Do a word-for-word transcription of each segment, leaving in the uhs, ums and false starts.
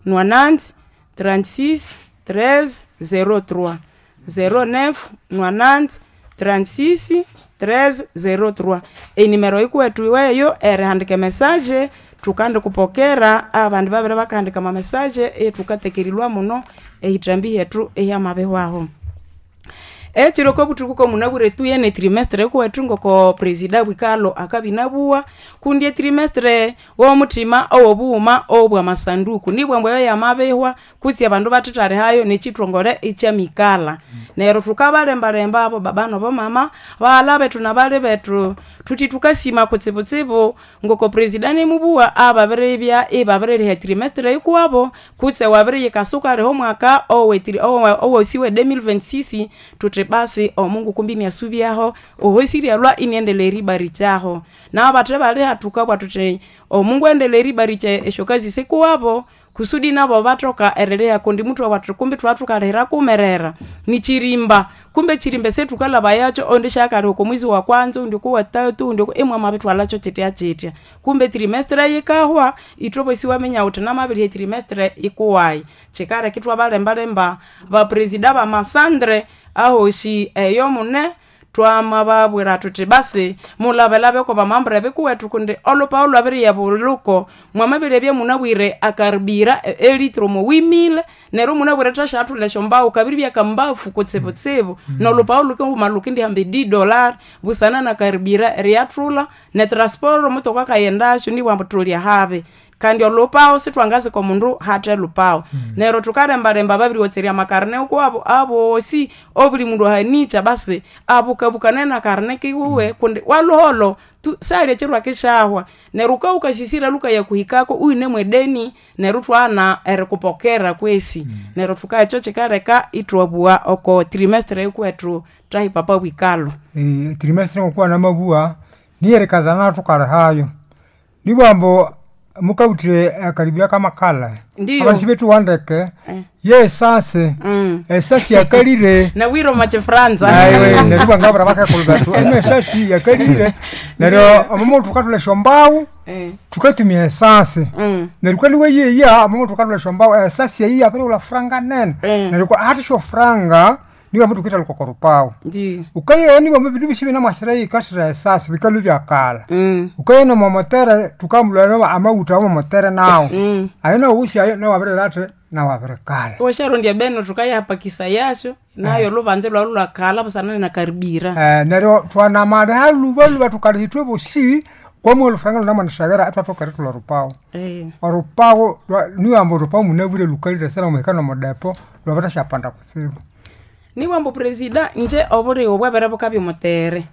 nonante trente-six treize zéro trois, zéro neuf nonante trente-six treize zéro trois. Enimero yikuwethu iweyo erihandika emessage tukandikupokera abandi babere bakahandika ama message ethukatekerilwa muno ehitambi hyethu ehyamabihwaho. Ekiro kobuthuku komunabwire tuye ne trimestre kuwethu ngoko presida Bwikalo akabya inabuwa kundi etrimestre womuthima owobughuma obwamasanduku nibwa ambu eyo yamabihwa kutse abandu bathethalhihayo nekyithongole ikyamikalha. Neryo thukabalembalemba abo baba nabo mama, baghalha bethu nabali bethu thuthi thukasima kutsibutsibu ngoko presida anemubuwa ababiribya ibabiririha etrimestre yikuwabo kutse wabiriyikasa wukaliha omwaka owosi we deux mille vingt-six thuthi basi omungu kumbi iniasubyaho ohosi ryalwa iniendelea eribarikyaho. Nabathe baliha thukabugha thuthi omungu aendeleye eribarikya esyokazi sikuwabo kusudi nabo bathoka eriliha kundi muthwabugha thuthi kumbi thwathukalihira kumerera nikyirimba kumbe ekyirimba esyathukalhabayakyo oundi syakaliha oko mwezi wa kwanza oundi oko wathathu oundi imwamabithwalhakyo kyityakyitya. Kumbe etrimestre yikahwa ithwe bosi iwaminya wuthi namabiriha etrimestre ikuwayi. Kyikaleka ithwabalembalemba bapresida bamasandre ahosi eyo mune twamababwira thuthi basi mulabelabe kwabamambre bikuwethu kundi olhupahu lwabiriya bulhuko mwamabiryabya munabwire akaribira elitre omo huit mille neryo munabwire thasyathulha esyombahu kabiribya kambafu kutsibutsibu nolhupahu lhukihuma lhukindihamba e dix dollars busana nakaribira eriyathulha netransport omutoka akaghendasyo nibwa ambu thuli ahabi kandi olhupahu sithwangazika omundu hathe lhupahu. Neryo thukalembalemba babiriwotserya amakarne ukuwabo abosi obuli mundu ahanikya basi abukabukane nakarne kiwuwe kundi walhuholho sali ekyiro akisyahwa neryo wukabya wukasisira lhukayakuhikako iwune mwedeni neryo ithwaghana erikupokera kwesi. Neryo thuka ekyo kyikaleka ithwabuwa oko trimestre yikuwethu thahi papa Bwikalo. Trimestre ngokuwa namabuwa niyerikazana thukalihayo nibwa ambu mukawuthe akaribira kamakala Ndiyo. abandu sibethuwa ndeke ye esasi Mm. esasi yakalire Nawire omu kyifranza aiwe neryo ibwa ngabura bakakulhu bethu eno esasi yakalire neryo omumu thukathulha esyombahu Eh. thukatumia esasi Mm. neryo kwali weyeya omumu thukathulha esyombahu esasi eyi yabirighulha franga nene Eh. neryo kwa hathi syofranga nibo ambu thukithalhuka oko rupahu Ndiyo. ukayeya nibo ambu ebindu bisi binamwasira yikasira esasi bikalhwa ibyakalha Mm. ukaye nomomotere thukamulha amawutha awomotere nawo Mm. ayo nawusi ayo nawabirira athi nawabirikalha washarondya beno thukayahapakisa yasyo nayo lubanze lwalu lwakalha busana nakaribira Eh, neryo thwanamaliha lhuba lhuba thukaliha ithwe bosi kwamwe olufuranga lunamwanasaghera ithwathoka erithulha orupahu Eh. orupahu lwa- niyo ambu orupahu munabwire lhukalire sera muhika nomudepo lwabirithashyapanda kutsibu nibwa ambu presida nje obuligho bwabere bukabya omutere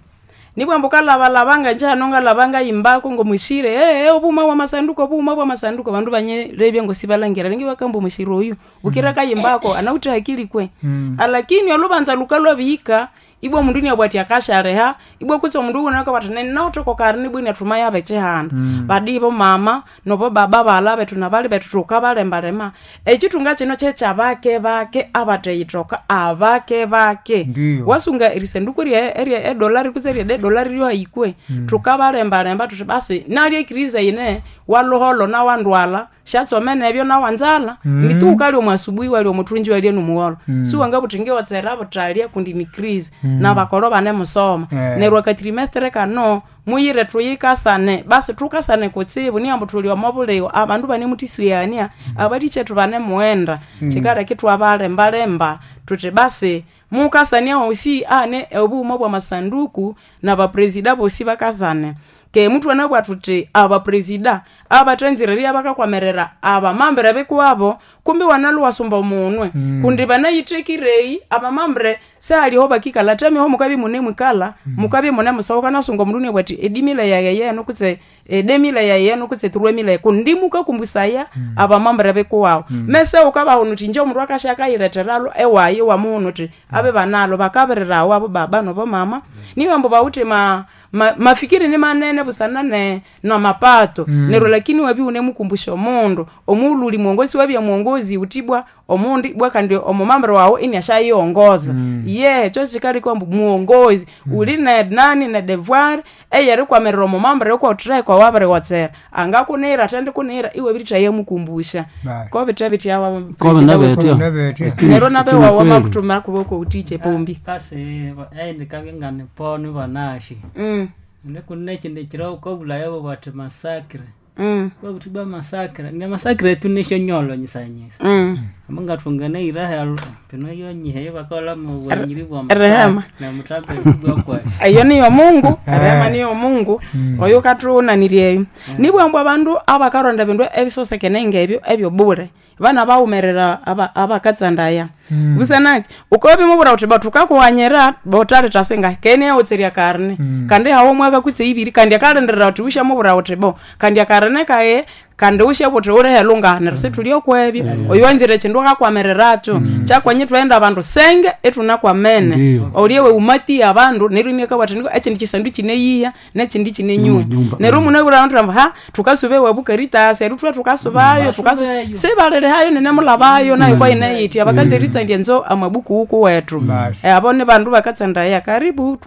nibwa ambu kalabalaba nga nje hano ngalaba ngayimbako ngomushire ee obughuma bwamasanduku obughuma bwamasanduku abandu banyirebya ngosibalangira ringi bakamba omushire oyu bukira kayimbako anawithe hakili kwe alakini olubanza lukalwabihika ibwa omundu iniabwa athi akasyaliha ibwa kutse omundu wuna akabugha athi ninawithe okokari nibwa iniathuma yaba ekyihanda badi bomama nobo baba baghalha bethu nabali bethu thukabalembalema ekyithunga kino kyekyabake bake abatheyithoka abake bake Ndiyo. wasunga erisanduku erye erye edolari kutse erye edolari ryohayikwe thukabalembalemba thuthi basi nalyo ekiriza yine waluholho nawandwalha syatsome nebyo nawanzalha mm. nditu ukalya omu asubuhi walya omuthunji walya nomuwolo mm. siwangabuthi ngiwotsera buthalya kundi ni crise mm. nabakolo banemusoma Eh. neryo akatrimestre kano muyire thuyikasane basi thukasane kutsibu niyambu thuli omo buligho abandu banemuthisuyania abalikyetu banemughenda kyikaleka ithwabalembalemba thuthi basi mukasania hosi ane obughuma bwamasanduku nabapresida bosi bakasane ke muthu anabugha thuthi abapresida abathanzire bakakwamirira abamambere bikuwabo kumbi wanalhu wasumba omunwe mm. kundi banayitthekireyi abamambere sehaliho bakikalha tamiho mukabya munemwikalha mm. mukabya munemusohoka nasunga omundu inabugha athi edimile yaye yenu kutse edemile yaye yenu kutse turuemile kundi mukakumbusaya mm. abamambere bikuwawu mm. mese ukabahuna uthi nje omundu akasya akayiletheralho ewayi wamuhuna uthi abe banalho bakabirirawo abo baba nobo mama niyo ambu bawithe ma, ma, mafikiri ni manene busana ne namapato mm. neryo lakini wabya unemukumbusha omundu omughulhu uli mwongosi wabya mwongozi uthibwa Omundi bwa kandi omumambere wawe iniashayiongoza. Ye kyo kikaliko ambu muongozi uli ne nani ne devoir eyerikwamirira omumambere okwotheka wabiriwotsera angakunira atendi kunira iwe birithaye mukumbusha. Right. Ko bithe bitya Kobe nabetya. Nabetya. Nero nabe Kini wawe kweli. makuthuma kuboko utiche pombi. Kasi aindi kangengane ponu banashi. Mm. Nekune chinde chiro kobulaya bo bati masakre. Mm. Kwakuti ba masakre, ne masakre tunisho nyolo nyisanyisa. Mm. Amunga tungane iraha pino yonyihe bakola mu bwanyiri bwa Rehema. Na mutambe bwa kwa. Eyo niyo Mungu, rehema niyo Mungu. Oyo kathunaniryeyo. Nibwambu abandu abakaronda bindu ebisosekene ngebyo ebyo bure. Bana bawumerera aba abakatsandaya. Busanaki ukobimubura uthi bathukakuwanyira botaleta singa kene yawutserya karne. Kandi hawo mwaka kutse ibiri kandi akalindirira uthi ushamubura uthi bo. Kandi akarne kaye kandi ushabuthi urihelu neryo situli okwebyo. Oyo wanzire kindu akakwamiriracho. Kyakwanye twenda abandu senge etunakwamene. Ndiyo. Olyewe umati abandu neryo inakabwati niko ekindi kisandu kineyiya nekindi kinenyunya. Kinenyumba. Neryo munabura abandu amba ha tukasube wabu Caritas eryo thwa tukasubayo tukasu sibalirihayo nenemulabayo nayo kwaineyiti abakanza eritsandya nzo amabuku uku wethu. Basi. Eh, abo ni bandu bakatsandaya karibu.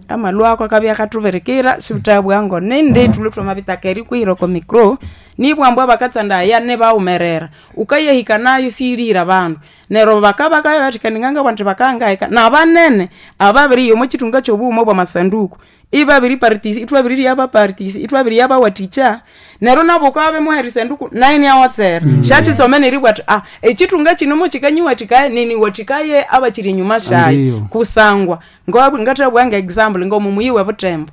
Amalwako akabya akathuberikira sibuthabwa nindi thulwe thwamabitaka erikwihira oko micro nibwambu abakatsandaya nibawumerera ukayahika nayo siyirihira abandu neryo bakabakabya bathi kandi ngangabwa nthi bakangahika nabanene ababiriya omo kithunga kyobughuma obwamasanduku ibabiri partisi ithwabiririya abapartisi ithwabiriya abawathikya neryo nabo ukabya erisanduku nayo iniawotsera syakyitsome neribwa athi ah ekithunga kino mukikanyiwathikaya niniwathikaye abakiri enyuma syayo Ndiyo. kusangwa ngobu ngathabwa nga example ngomu muyi webutembo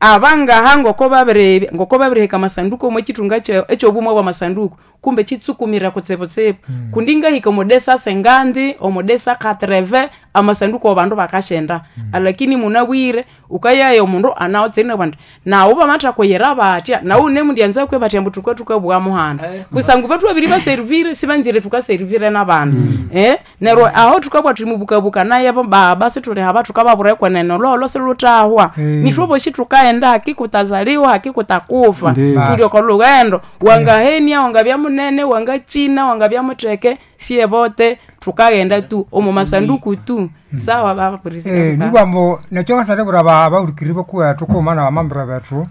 abangaha ngoko babiri ngoko babirihika amasanduku omo kithunga ekyobumwe bwamasanduku kumbe kitsukumira kutsibutsibu mm. kundi ngahika omodesa sengandi omodesa katreve amasanduku abandu bakashenda mm. Alakini munabwire ukayaya omundu anawotsirine bwandu nawu bamathakoyera batya nawu nemundyanza kwe batya ambu tukwa tukabugha muhanda kusangu bethu babiri baserivire sibanzire tukaserivire nabandu mm. Eh neryo aho tukabwa thulimubukabuka naye bo baba situlihaba tukababura ekwenene lolo silutahwa mm. Nithwoboshi tukaenda hakikutazaliwa hakikutakufa Ndiyo. tuli oko lughendo wangahenia wangabya munene wangachina wangabya mutheke siye bote tukaghenda tu omu masanduku tu sawa baba Eh, president nibwambu nekyo ngathalebura abahurikiri bokuwethu kughuma nabamambira bethu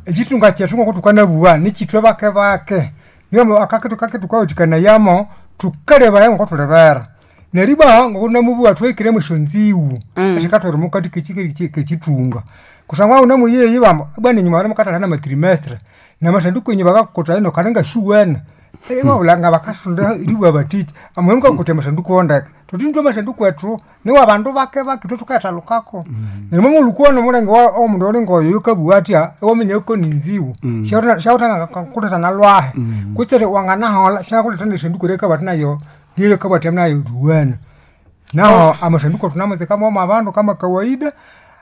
ekitunga kyethu ngoko tukanabuwa nikithwe bake bake nibwambu akakitu kake tukawathikanayamo tukalebaya ngoko thulibera neribwa ngoko namubuwa thuhikiremu esyonziwu esyakathwera omukati kekithunga kusangwa unamuyeyi bambu bwana enyuma banamukathahana namatrimestre namasanduku enyu bakakutha ino kandi ngashuwene wabulanga bakasunda eribwa batiki amuhe mukakutha amasanduku ondeke thuthi nithwe amasanduku ethu niwa bandu bake bake ithwe thukayathalukako neryo mwamulhukuwana omulenge omundu oli ngoyo yukabuwa atya ewaminya yuko ninziwu syawutha nalwahe kutse wanganahola syakuletha nesanduku eryakabwati nayo lyeyakabwati nayo ruwana naho amasanduku thunamatsika momo abandu kama kawaida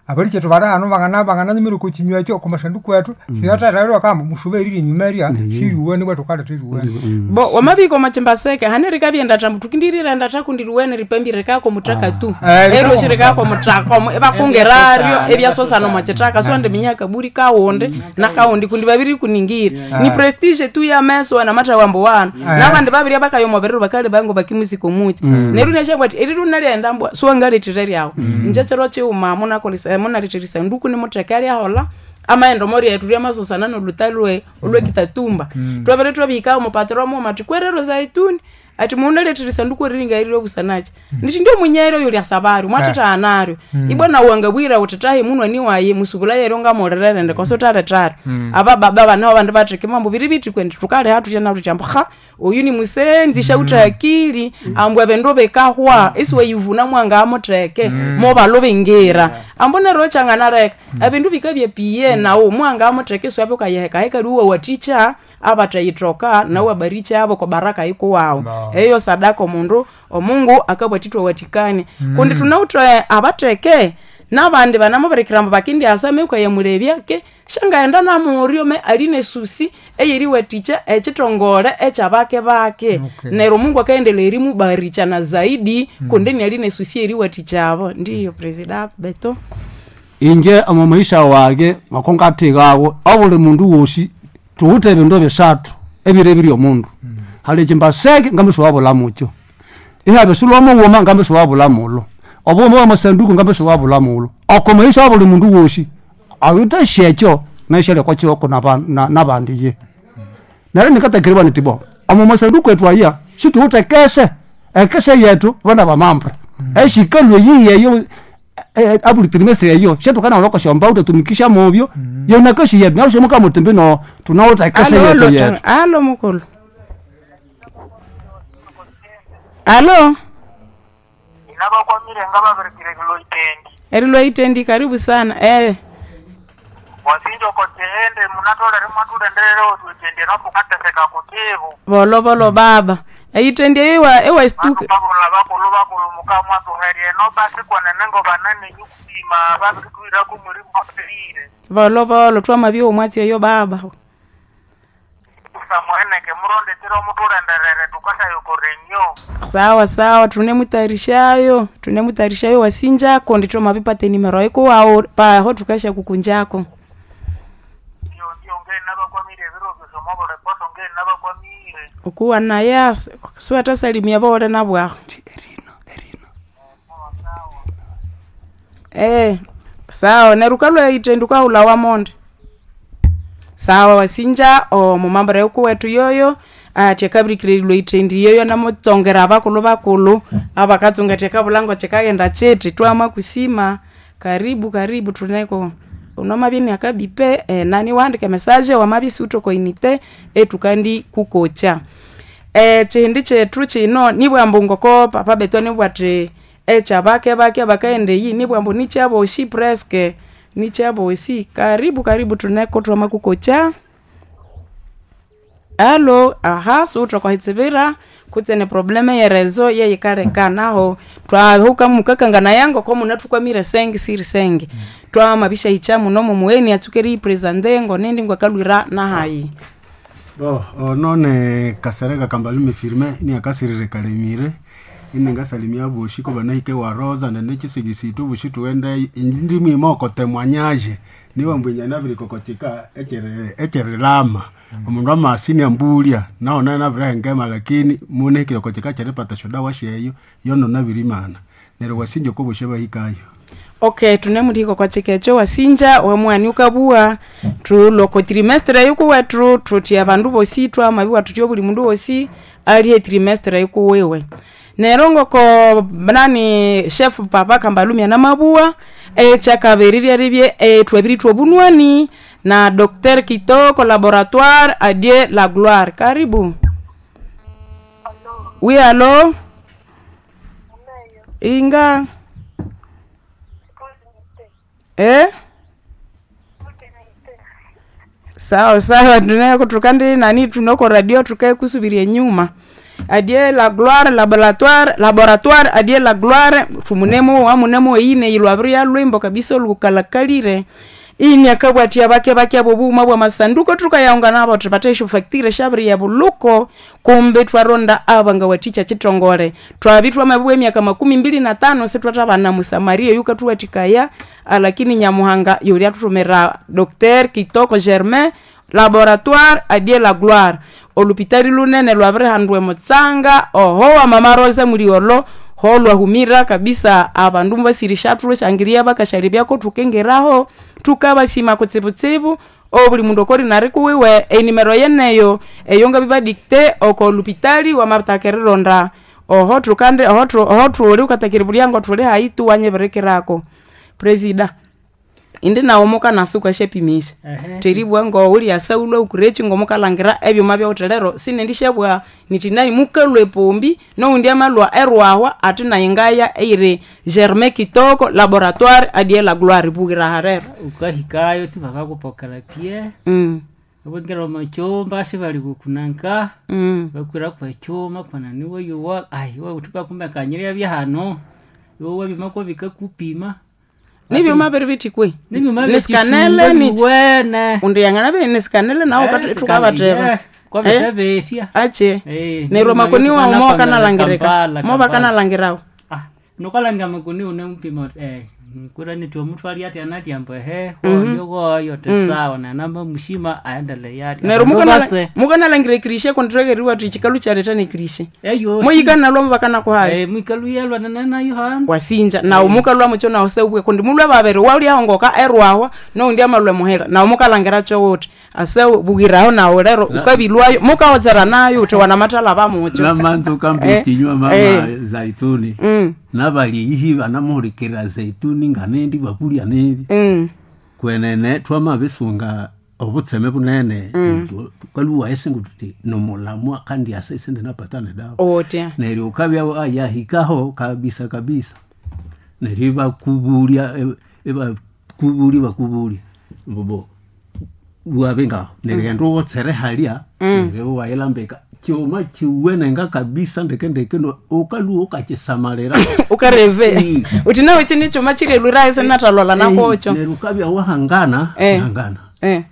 abalikyetu bali hano bangana bangananyumira oko kinywa ekyo oko masanduku ethu siyathathalirwa kamba musuba eriri enyuma erya siriwene bwa thukaletha eriwene bo wamabika omachimbaseke hane rikabyenda thambu tukindirirenda thakundiruwene ripambire kako muthaka tu Eh, ero shirikako muthaka omo ebakungeraryo ebyasosana omwakithaka so ndiminya kaburi kawundi nakawundi kundi babiri kuningira ni prestige tu ya meso namatha wambo wana nabandi babiri abakaya omubiriro bakali bango bakimusiko muki neryo neshabwa ati eriru nalyenda mbwa siwangalethire ryawu inje kyiro kiwuma munakolesa munalethera isanduku nimutheka lyahola amaghenda omori ethu lyamasosana nolhuta lwe olwekitatumba twabere twabihika omupatiro mughuma athi kwerero zaituni ati munalethera isanduku eriringa obusanaki nithi ndio munyere oyo lyasabari mwathatha ibwa nawu wangabwira wuthi tahi munwani wayi musubula yeryo ngamulirerende kosi uthalethari abababa banaho abandu batheke mambo biri bithi kwendi thukaliha thutya nathu ambu ha oyu ni musenzi shawutha akili ambu ebindu bikahwa isiwayivuna mwangamutheke mobalubingira ambu neryo kyanganaleka ebindu bikabya nawu mwangamutheke isiwabya ukayihekaheka liwa wathikya abathayithoka nawu abarikyabo abo kobaraka yikuwawu No. eyo sadaka omundu omungu akabwathithwa wathikania kundi thunawuthe abatheke nabandi banamubirikira ambu bakindyasa meukayamulebya ke shangaghenda namuryo me ali nesusi eyeriwathikya ekithongole ekyabake bake Okay. neryo omungu akaendelea erimubarikya na zaidi kundi niali nesusi eriwathikyabo ndiyo presida beto inje omo maisha wage ngoko ngathikawo obuli mundu wosi thuwithe ebindu ebisathu ebiro ebiri omundu Hali chimbaseke ngambe siwabula mukyo. Ihabya sulwa mughuma ngambe siwabula mulo. Obughuma bwa masanduku ngambe siwabula mulo. Oko maisha wa buli mundu wosi awuthasi ekyo naishalya oko kiwoko nabandi ye. Neryo nikatakiribwa niti bo omo masanduku ethu aya situwithe ekese, ekese yethu bana bamambre esyikalhwa eyihi eyo abuli trimestre eyo syathukanahulha okwasyambao ithwatumikisya mubyo yonakasi yetu neryo simukabugha muthi mbino thunawithe ekese Alo, yethu alo, yetu. Alo mukulu. Alo. Inabakwamire ngababirikire erilwa itendi. Erilwa itendi, karibu sana. Eh. Wasinja okotihende munatolere mwathulenderere otwitendi nopukateseka kutibu. Volo volo baba. Eitendi ewa ewa stuka. Bakabula bakulu bakulu mukamwathuherye nobasi kwenene ngobanene nyukupima babirithwirako mulimu waperire. Volo volo twamabya omwatsi eyo baba. Kusamuheneke murondetire omuthulenderere tukashayokorenyo. Sawa sawa, tunemutayarishayo, tunemutayarishayo wasinjako ndi twamabipata enimero ikuwawu paho tukasha kukunjako. Ndio ndio ngeni nabakwamire ebiro byose omobulepoto ngeni nabakwamire. Ukuwa naya siwathasalimia bawole nabwaho. Erina, erina. Eh, sawa neryo wukalhwa itendi wukahulha wamonde. Sawa wasinja omumambura yokuwethu yoyo athi akabirikira erilwa itendi yoyo namutsongera abakulhu bakulhu abakatsunga athi akabulha ngokyikaghenda kyithi twamakusima. Karibu karibu thuneko wamabya inakabipe enani iwahandika emessage wamabya isiwithe oko unité ethukandi kukokya. Ekyindi kyethu kyino nibughambu ngoko papa bethu anibugha athi ekyabake bake abakaghenda eyi nibughambu nikyabosi presque nikyabosi. Karibu karibu thuneko thwamakukokya. Alo, aha siwuthe okwa hitsibira kutse ne probleme yerezo yeyikaleka naho twahuka mukakanganaya ngoko munathukwamire senge siri senge. Twamabishahikya muno mumugheni atsuke eriyipresente ngonindi ngwakalhwira nahayi. Bo ono ne Kasereka Kambalume Firmin iniakasirire Kalemire iningasalimia boshi ko banahike wa Rosa nene chisigisi tu bushi tuende indi mwima okotemwanyaje niwe mbwinya nabirikokotika echere echerilama omundu amasini ambulia naona nabirengema lakini munehikire kochika cheripata shodawa sheyo yono nabirimana neryo wasinja ko bushe bahikayo. Okay, tunemuthiko kwa chikecho wasinja wamwani ukabua thuloko trimestre yukuwethu thuthi abandu bosi twamabiwa thuthi obuli mundu wosi alihe trimestre yukuwiwe. Neryo ngoko nani chef papa Kambalumya namabua ekyakabiri lyeribye ethwabirithwa obunwani na Docteur Kitoko laboratoire adie la gloire. Karibu. Oui, allo. Inga. Eh? Sawa sawa tunako tukandi nani tunoko radio tukae kusubiria nyuma. Adie la gloire laboratoire laboratoire adie la gloire tumunemo wamunemo ine ilwabria lwimbo kabisa olukalakalire. Ini akabwatia bake bake abo buma bwa masanduko tukayaunga nabo tupate facture shabri ya buluko kumbe twaronda abanga waticha chitongole twabitwa mabwe emyaka makumi mbili na tano sitwatabana musamaria yuka tuwatikaya lakini nyamuhanga yuli atutumira Docteur Kitoko Germain laboratoire adie la gloire olupitali lunene lwabirihandwa mutsanga oho wa mama Rosa muliolo ho lwahumira kabisa abandu mubasirisha thulushangiria bakashalibya tukengeraho tukabasima kutsibutsibu obuli mundu okori nari kuwiwe enimero yeneyo eyo ngabibadikte oko lupitali wamatakerilonda oho tukande oho tu, oho thuli ukatakiri bulyango thuli hayi tu wanyibirikirako presida indi nawo mukanasuka syapimisha Ehe. teribwa ngouli asaulwa ukurechi ngomukalangira ebyuma byawuthelero sinendishabwa niti nani mukalwa epombi noundi amalwa erwahwa ati nayi ngaya eyiri Germain Kitoko laboratoire adie la gloire bughira harero. Ukahikayo tu bakakupokela pie mm. ubingira omuchumba sibali kukunanka mm. bakwira kwechuma kwana niwe yuwa ai iwe uthuka kumekanyirya byahano iwe wabima ko bikakupima Nibyuma biri bithi kwe nibyuma Nisikanele nichi wene undi yangana nisikanele nawo tukabateba kwabisabesya ache Eh, neryo makoni nibyuma wawu byokukanapangala mobakanalangirika Kampala, Kampala. mobakanalangirawo Ah, Nukalanga makoni une mpima eh kura ni twamutwali ati anati ambo ehe hoyo goyo tesawa na namba mushima aendele yati neryo Abandu base, mukanalangira ekirishe konditwekererwa tuti chikalu kyaleta nekirishe eyo muyikana bakanakuhayo eh mwikalu nana yohana wasinja nawu mukalwa mucho nawu seubwe kundi mulwe babiri waulihongoka erwawa noundi amalwe muhira nawu mukalangira chowuthi ase bugiraho nawu lero ukabilwayo mukawotsera nayo uthi wanamathala bamucho namanza ukamba Eh, ekinywa mama eh. zaituni Mm, nabali banamuhulikirira zaituni nganendi bakulya nebi mm, kwenene twamabisunga obutseme bunene tukaluwa esingu tuti nomulamwa kandi ase isende napatane dawa otya neryo ukabya yahikaho kabisa kabisa neryo ibakubulya ibakubulya bakubulya mbubo wabe ngaho neryo enda uwotsere halya neryo wayilambika kyuma kiwenenga kabisa ndeke ndeke no- ukaluwa ukakisamalira ukareve Mm. uthi nawe chini chuma chirelwirayo sinatalola nakocho neryo ukabya wahangana Eh. hangana eh.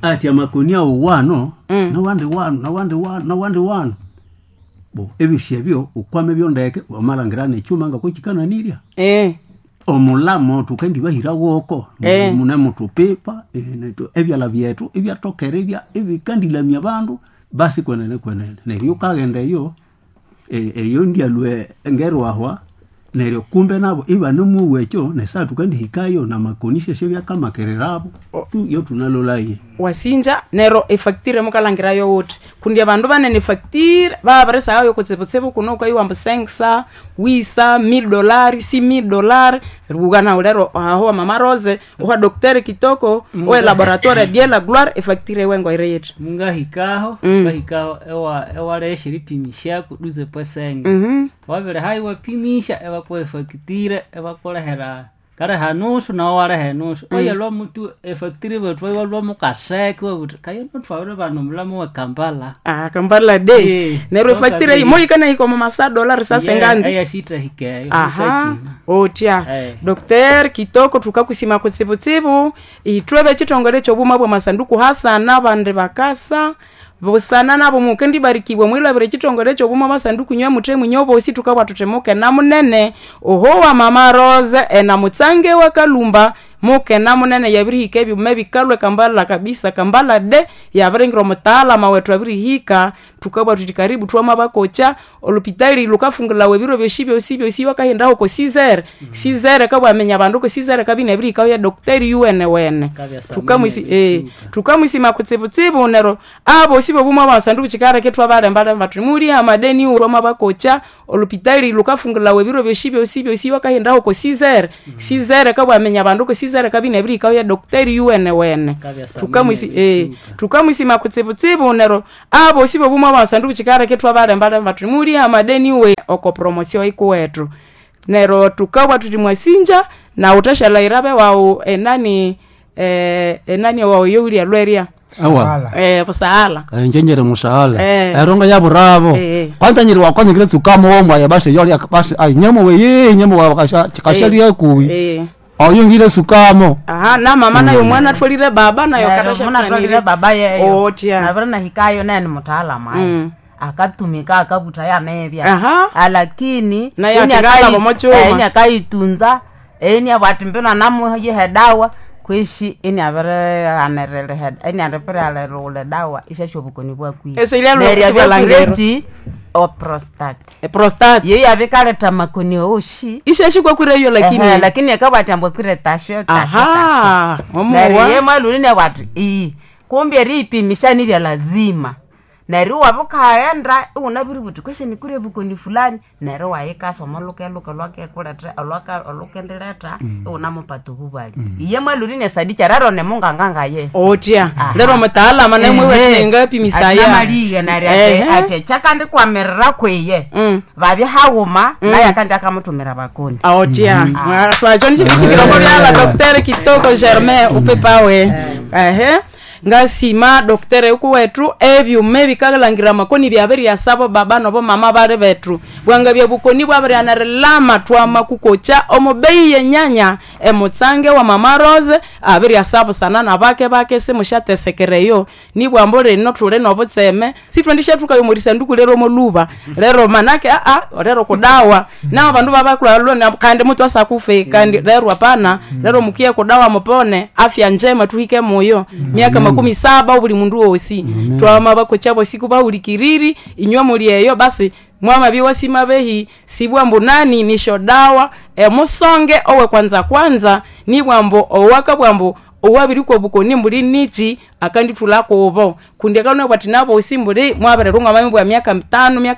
ati amakoni awo wano nawandi wano nawandi wano nawandi wano bo ebisyo ebyo ukwame byondeke wamalangira nekyuma nga kukikananirya Eh. omulamo tukendibahira woko Eh. mune mutupipa eh, netu- ebyala byethu ebyatokere ebya- ebikandilamya bandu basi kwenene kwenene neryo ukaghenda eyo eh, eyo ndyalwe ngerwahwa neryo kumbe nabo ibanemuwa ekyo nesaa tukandihikayo namakoni syesyo byakamakererabo tu yo tunalolaye wasinja nero efacture mukalangirayo wuthi kundi abandu banene efacture babirisayo kutsibutsibu kuno ukaiwamba senksa wisa mil dolari si mil dolari rugana lero aho wa mama rose owa docteur kitoko owe laboratoire die la gloire efacture wengo ire yithi mungahikaho ngahikaho ewa ewalesha eripimisha kuduze posenge Mhm. wabere hayi wapimisha ebakuha efacture ebakulehera kaleha nusu nawe waleha enusu oye lwamutu efacture bethu iwalwa mukaseke wabuthi kayo notwawire bano mulamu we Kampala ah kambala de Eh, nero efacture toka moyikana ikomo masa dolari sasengandi eyashitahikeyo aha otya Eh. Docteur kitoko tukakusima kutsibutsibu itwebe chitongole chobuma bwa masanduku hasana bande bakasa busana nabo mukendi barikibwe mwilabire chitongole chobuma masanduku nywe mute munyobosi tukabwa tutemuke na munene oho wa mama rose ena mutsange wa kalumba muke na munene yabirihika ebyuma bikalwe kambala kabisa kambala de yabiringira omutaalama wetu abirihika tukabwa tuti karibu twama bakocha olupitali lukafungulawa ebiro byosi byosi byosi wakahendaho ko sizere sizere kabwamenya abandu ko sizere kabina ebirihikaho ya dokteri yuwene wene Kabya samene tukamwisi eh ebitsuka. tukamwisima kutsibutsibu nero abo sibo bumwe abasanduku chikareke twabalembalemba tuti muli amadeni uroma bakocha olupitali lukafungulawa ebiro byosi byosi byosi wakahendaho ko sizere sizere kabwamenya abandu ko sizere kabina ebirihikaho ya dokteri yuwene wene Kabya samene tukamwisi eh ebitsuka. tukamwisima kutsibutsibu nero abo sibo bumwe abasanduku chikareke twabalembalemba tuti muli amadeni we oko promosio ikuwetu nero tukabwa tuti mwasinja na utashalayirabe wawu enani eh, enani wawu youlia lweria awa Sala. eh, busaala njenyere musaala Eh. eronga ya buravo Eh. kwanza nyiri wakwanza ngire tsukamo womwaya basi yoli basi ai nyemo weye nyemo wakasha kashalia kuwi eh. oyo ngire sukamo aha na mama nayo mwana twalire baba nayo katasha munatwalire baba yeyo otya navire nahikayo naye ni mutaalamu ayo Mm. akatumika akavuta yanevya Aha. lakini Naye ini atikala akai- bomochuma. eh, ini akaitunza ini abwati mbino namuyihe dawa kwishi ini avirihanerere ini aripirialeriule dawa ishasha obukoni bwakwire Ese ilya Neryo lwa- abyakwirechi oprostate e, prostate yeyo abikaleta makoni oshi ishashikwakwire iyo lakini Ehe, lakini akabwati ambwakwire tasho tasho aha tasho neryo ye omuwa mwaluni nebwati iyi kumbe eriipimisha nilya lazima neryo wabukaghenda iwunabiributhi kwesi nikure bukoni fulani neryo wayikasa omolukeluke lwakekuleta olukendiletha iwunamupata obubali iye mwaluni nesadikya rero nemungangangaye otya lero mutaalama nemwiwetinengapimisaya amaliye neryo Ehe. ati ati kyakandikwamiririra kwiye Mm. babya haghuma naye akandi akamutumira bakoni otya twacho nichilipikiroko byala docteur kitoko germain upepawe ehe Ngasima doktere yukuwethu ebyuma ebikalangira amakoni byabiryasabo baba nobo mama bali bethu bwanga bya bukoni bwabirighana erilama twamakukocha omubeyi yenyanya emutsange wa mama Rose abiryasabusana nabake bake simusyatesekereyo nibwambo lino thuli nobutseme sithwendishathukayo omwerisanduku lero omoluba lero manake aa lero kudawa nao bandu babakulwa kandi mutwasa kufe kandi lero hapana lero mukiye kudawa mupone afya njema tuhike moyo miaka makumi saba buli mundu wosi twama bakocha bosiku bahulikiriri inywe muli eyo basi mwama biwasima behi sibwambu nani nisho dawa emusonge owe kwanza kwanza nibwambo owaka bwambo owabirikwa obukoni mbuli nichi akandithulako obo kundi akanabwa ati nabosi mbuli mwabirerunga mami bwa miaka mitano miaka